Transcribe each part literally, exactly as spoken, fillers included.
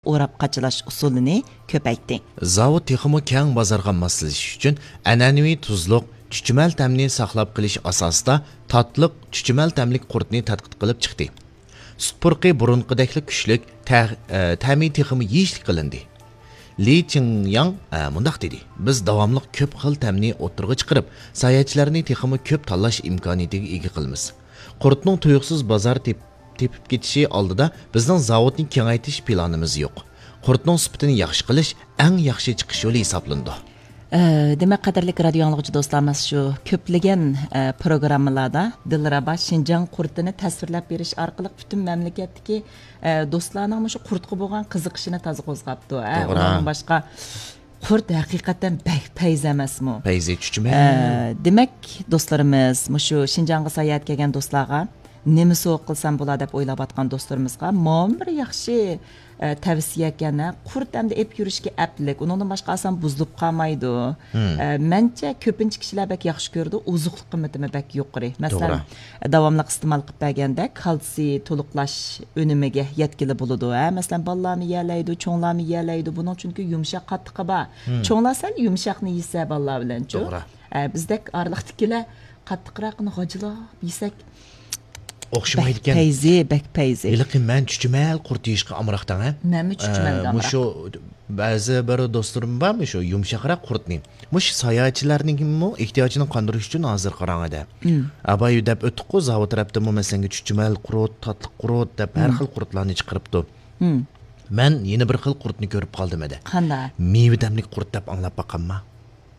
ئوراپ قاچىلاش ئۇسۇلىنى كۆپەيتتى. زاۋۇت تېخىمۇ كەڭ بازارغا ماسلىشىش ئۈچۈن ئەنئەنىۋى تۇزلۇق، چۈچۈمەل تەمنى ساقلاپ قېلىش ئاساسىدا تاتلىق، چۈچۈمەل تەملىك قۇرتنى تەتقىق قىلىپ چىقتى. سۈت پۇرىقى بۇرۇنقىدەكلا كۈچلۈك، تە-، ئە، تەمى تېخىمۇ يېيىشلىك قىلىندى. لى چىڭياڭ، ئە، مۇنداق دېدى، بىز داۋاملىق كۆپ خىل تەمنى ئوتتۇرىغا چىقىرىپ، ساياھەتچىلەرنى تېخىمۇ كۆپ تاللاش ئىمكانىيىتىگە ئىگە قىلىمىز. قۇرتنىڭ تۇيۇقسىز بازار تېپ-، تېپىپ كېتىشى ئالدىدا بىزنىڭ زاۋۇتنى كېڭەيتىش پىلانىمىز يوق. قۇرتنىڭ سۈپىتىنى ياخشى قىلىش ئەڭ ياخشى چىقىش يولى ھېسابلىنىدۇ. ئە، دېمەك، قەدىرلىك رادىيو ئاڭلىغۇچى دوستلار، مانا شۇ كۆپلىگەن، ئە، پروگراممىلاردا دىلرەبا شىنجاڭ قۇرتىنى تەسۋىرلەپ بېرىش ئارقىلىق پۈتۈن مەملىكەتتىكى، ئە، دوستلارنىڭ مۇشۇ قۇرتقا بولغان قىزىقىشىنى تازا قوزغاپتۇ. ئە، توغرا. ئۇنىڭدىن باشقا قۇرت ھەقىقەتەن بەك پەيزى ئەمەسمۇ؟ پەيزى چۈچۈمە. ئە، دېمەك، دوستلىرىمىز، مۇشۇ شىنجاڭغا ساياھەتكە كەلگەن دوستلارغا نېمە سوۋغا قىلسام بولار دەپ ئويلاۋاتقان دوستلىرىمىزغا مانا بىر ياخشى، ئە، تەۋسىيە ئىكەن، ھە. قۇرت ئەمدى ئېلىپ يۈرۈشكە ئەپلىك، ئۇنىڭدىن باشقا ئاسان بۇزۇلۇپ قالمايدۇ. مم. ئە، مەنچە كۆپىنچە كىشىلەر بەك ياخشى كۆرىدۇ، ئوزۇقلۇق قىممىتىمۇ بەك يۇقىرى. مەسىلەن، توغرا. داۋاملىق ئىستېمال قىلىپ بەرگەندە كالتسىي تولۇقلاش ئۈنۈمىگە يەتكىلى بولىدۇ، ھە. مەسىلەن، بالىلارمۇ يېيەلەيدۇ، چوڭلارمۇ يېيەلەيدۇ. بۇنىڭ چۈنكى يۇمشاق قاتتىقى بار. مم. چوڭلار سەل يۇمشاقنى يېسە بالىلار بىلەنچۇ. توغرا. ئە، بىزدەك ئارىلىقتىكىلەر قاتتىقراقنى غاجىلاپ يېسەك، ئوخشىمايدىكەن. بەك پەيزى، بەك پەيزى. ھېلىقى مەن چۈچۈمەل قۇرت يېيىشقا ئامراقتاڭ، ھە؟ مەنمۇ چۈچۈمەلگە ئە، ئامراق. مۇشۇ بەزى بىر دوستلىرىم بار، مۇشۇ يۇمشاقراق قۇرتنى. مۇشۇ ساياھەتچىلەرنىڭمۇ ئېھتىياجىنى قاندۇرۇش ئۈچۈن ھازىر قاراڭ ئەدە. مم. ئابايا دەپ ئۆتتۇققۇ، زاۋۇت تەرەپتىمۇ مەسىلەنگە چۈچۈمەل قۇرت، تاتلىق قۇرت دەپ ھەر مم. خىل قۇرتلارنى چىقىرىپتۇ. مم. مەن يەنە بىر خىل قۇرتنى كۆرۈپ قالدىم ئەدە. قانداق؟ مېۋە تەملىك قۇرت دەپ ئاڭلاپ باققانما؟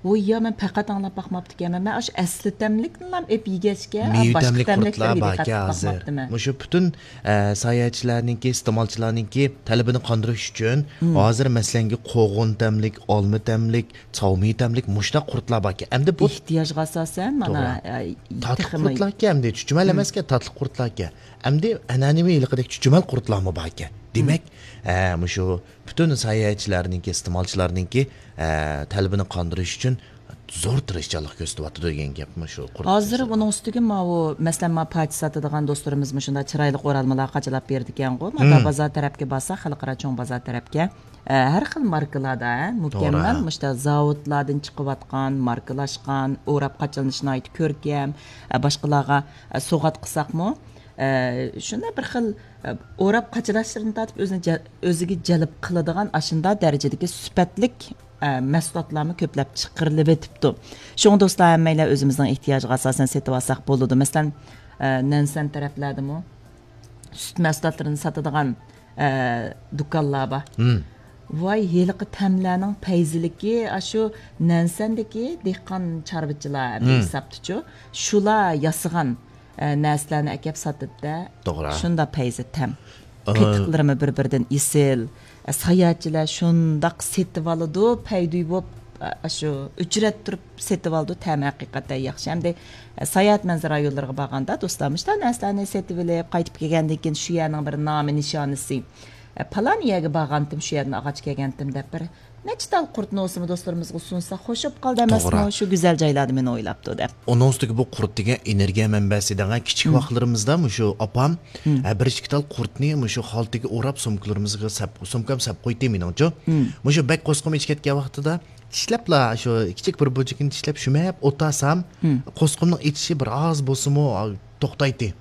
ۋوي يا، مەن پەقەت ئاڭلاپ باقماپتىكەنمەن. مەن ئاشۇ ئەسلى تەملىكنىلا ئېپ يېگەچكە، مېۋە باشقا تەملىك قۇرتلار تەملىكلەرگە باركەن دىققەت قىلىپ ھازىر. باقماپتىمەن. مۇشۇ پۈتۈن، ئە، ساياھەتچىلەرنىڭكى، ئىستېمالچىلارنىڭكى تەلىپىنى قاندۇرۇش ئۈچۈن مم. ھازىر مەسىلەنگە قوغۇن تەملىك، ئالما تەملىك، چاۋمىي تەملىك مۇشۇنداق قۇرتلار باركەن. ئەمدى بۇ ئېھتىياجغا ئاساسەن، مانا، توغرا. ئە، تاتلىق تېخىمۇ قۇرتلاركەن، ئەمدى چۈچۈمەل مم. ئەمەسكەن، تاتلىق قۇرتلاركەن. ئەمدى ئەنئەنىۋى ھېلىقىدەك چۈچۈمەل قۇرتلارمۇ باركەن. دېمەك، مم. ئە، مۇشۇ پۈتۈن ساياھەتچىلەرنىڭكى، ئىستېمالچىلارنىڭكى، ئە، تەلىپىنى قاندۇرۇش ئۈچۈن زور تىرىشچانلىق كۆرسىتىۋاتىدۇ دېگەن گەپ مۇشۇ قۇرۇق ھازىر سۆزلەر. ئۇنىڭ ئۈستىگە ماۋۇ، مەسىلەن، ما پاچە ساتىدىغان دوستلىرىمىز مۇشۇنداق چىرايلىق ئورالمىلار قاچىلاپ بېرىدىكەنغۇ. ما مم. بازار تەرەپكە بارسا، خەلقئارا چوڭ بازار تەرەپكە، ئە، ھەر خىل ماركىلاردا، ھە، مۇكەممەل توغرا. مۇشۇنداق زاۋۇتلاردىن چىقىۋاتقان، ماركىلاشقان، ئوراپ قاچىلىنىشى ناھايىتى كۆركەم، ئە، باشقىلارغا، ئە، سوۋغات قىلساقمۇ، ئە، شۇنداق بىر خىل، ئە، ئوراپ قاچىلاشلىرىنى تارتىپ ئۆزىنى جە-، ئۆزىگە جەلپ قىلىدىغان ئاشۇنداق دەرىجىدىكى سۈپەتلىك ئە، مەھسۇلاتلارمۇ كۆپلەپ چىقىرىلىۋېتىپتۇ. شۇڭا دوستلار، ھەممەيلەن ئۆزىمىزنىڭ ئېھتىياجىغا ئاساسەن سېتىۋالساق بولىدۇ. مەسىلەن، ئە، نەنسەن تەرەپلەردىمۇ سۈت مەھسۇلاتلىرىنى ساتىدىغان، ئە، دۇكانلار بار. مم. ۋاي، ھېلىقى تەملەرنىڭ پەيزىلىكى، ئاشۇ نەنسەندىكى دېھقان چارۋىچىلار مم. ھېسابتىچۇ. شۇلار ياسىغان ئە، نەرسىلەرنى ئەكەپ ساتىدىدا، توغرا. شۇنداق پەيزى تەم. ئا. قېتىقلىرىمۇ بىر-بىرىدىن ئېسىل. ئە، ساياھەتچىلەر شۇنداق سېتىۋالىدۇ، پەيدۇي بوپ، ئە، شۇ ئۆچرەتتۈرۈپ سېتىۋالىدۇ، تەمى ھەقىقەتەن ياخشى. ئەمدى، ئە، ساياھەت مەنزىرە رايونلىرىغا بارغاندا، دوستلار، مۇشۇنداق نەرسىلەرنى سېتىۋېلىپ، قايتىپ كەلگەندىن كېيىن شۇ يەرنىڭ بىر نامى نىشانىسى، ئە، پالان يەرگە بارغانتىم، شۇ يەردىن ئاغاچ كەلگەنتىم دەپ بىر نەچچە تال قۇرتنى ئولسىمۇ دوستلىرىمىزغا سۇنسا، خوش بولۇپ قالدى ئەمەسمۇ؟ توغرا. شۇ گۈزەل جايلاردا مېنى ئويلاپتۇ دەپ. ئۇنىڭ ئۈستىگە بۇ قۇرت دېگەن ئېنېرگىيە مەنبەسى دەڭە. كىچىك مم. ۋاقىتلىرىمىزدا مۇشۇ ئاپام، مم. ھە، بىر ئىككى تال قۇرتنى مۇشۇ خالتىگە ئوراپ، سومكىلىرىمىزغا سەپ، سومكام سەپ قويدى مېنىڭچۇ. مم. مۇشۇ بەك قورسىقىم ئېچىپ كەتكەن ۋاقتىدا چىشلەپلا، شۇ كىچىك بىر بۇرجىكىنى چىشلەپ، شۈمەپ ئولتۇرسام، مم. قورسىقىمنىڭ ئېچىشى بىر ئاز بولسىمۇ، ئا، توختايتتى.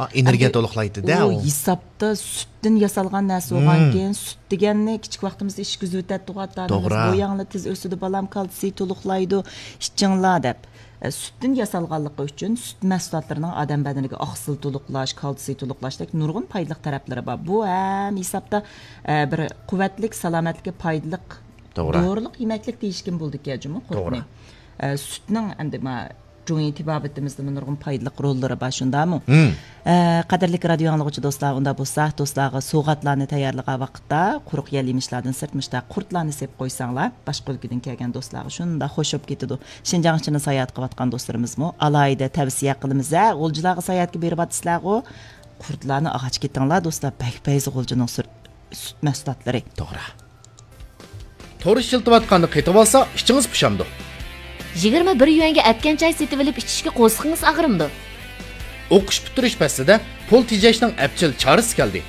ئا، ئېنېرگىيە ئەمدى تولۇقلايتتى-دە ئۇ ئۇ. ھېسابتا سۈتتىن ياسالغان نەرسە بولغانكىن، مم. سۈت دېگەننى كىچىك ۋاقتىمىزدا ئىچكۈزۈۋېتەتتىغۇ ئاتا-ئانىمىز، توغرا. بوياڭلار تېز ئۆسىدۇ، بالام، كالتسىي تولۇقلايدۇ، ئىچىڭلار دەپ. ئە، سۈتتىن ياسالغانلىقى ئۈچۈن سۈت مەھسۇلاتلىرىنىڭ ئادەم بەدىنىگە ئاقسىل تولۇقلاش، كالتسىي تولۇقلاشتەك نۇرغۇن پايدىلىق تەرەپلىرى بار. بۇ ھەم ھېسابتا، ئە، بىر قۇۋۋەتلىك، سالامەتلىككە پايدىلىق توغرا. دورىلىق يېمەكلىك دېيىشكىمۇ بولىدىكەن جۇمۇ قۇرتنى. توغرا. ئە، سۈتنىڭ ئەمدى ما جۇڭيى تېبابىتىمىزدىمۇ نۇرغۇن پايدىلىق روللىرى بار، شۇنداقمۇ؟ مم. ئە، قەدىرلىك رادىيو ئاڭلىغۇچى دوستلار، ئۇنداق بولسا، دوستلارغا سوۋغاتلارنى تەييارلىغان ۋاقىتتا قۇرۇق يەل يېمىشلاردىن سىرت مۇشۇنداق قۇرتلارنى سېپىپ قويساڭلار، باشقا ئۆلكىدىن كەلگەن دوستلارغا شۇنداق خوش بولۇپ كېتىدۇ. شىنجاڭ ئىچىدە ساياھەت قىلىۋاتقان دوستلىرىمىزمۇ ئالاھىدە تەۋسىيە قىلىمىز، ھە، غۇلجىلارغا ساياھەتكە بېرىۋاتىسىلەرغۇ، قۇرتلارنى ئاغاچ كېتىڭلار، دوستلار، بەك پەيزى غۇلجىنىڭ سۈر-، سۈت مەھسۇلاتلىرى. توغرا. تور ئىشلىتىۋاتقاندا قېتىۋالسا، ئىچىڭىز پۇشامدۇ. يىگىرمە بىر يۈەنگە ئەتكەن چاي سېتىۋېلىپ ئىچىشكە قورسىقىڭىز ئاغرىمدۇ؟ ئوقۇش پۈتتۈرۈش پەسلىدە پۇل تېجەشنىڭ ئەپچىل چارىسى كەلدى.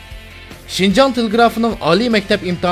شىنجاڭ تېلېگرافىنىڭ ئالىي مەكتەپ ئىمتىھان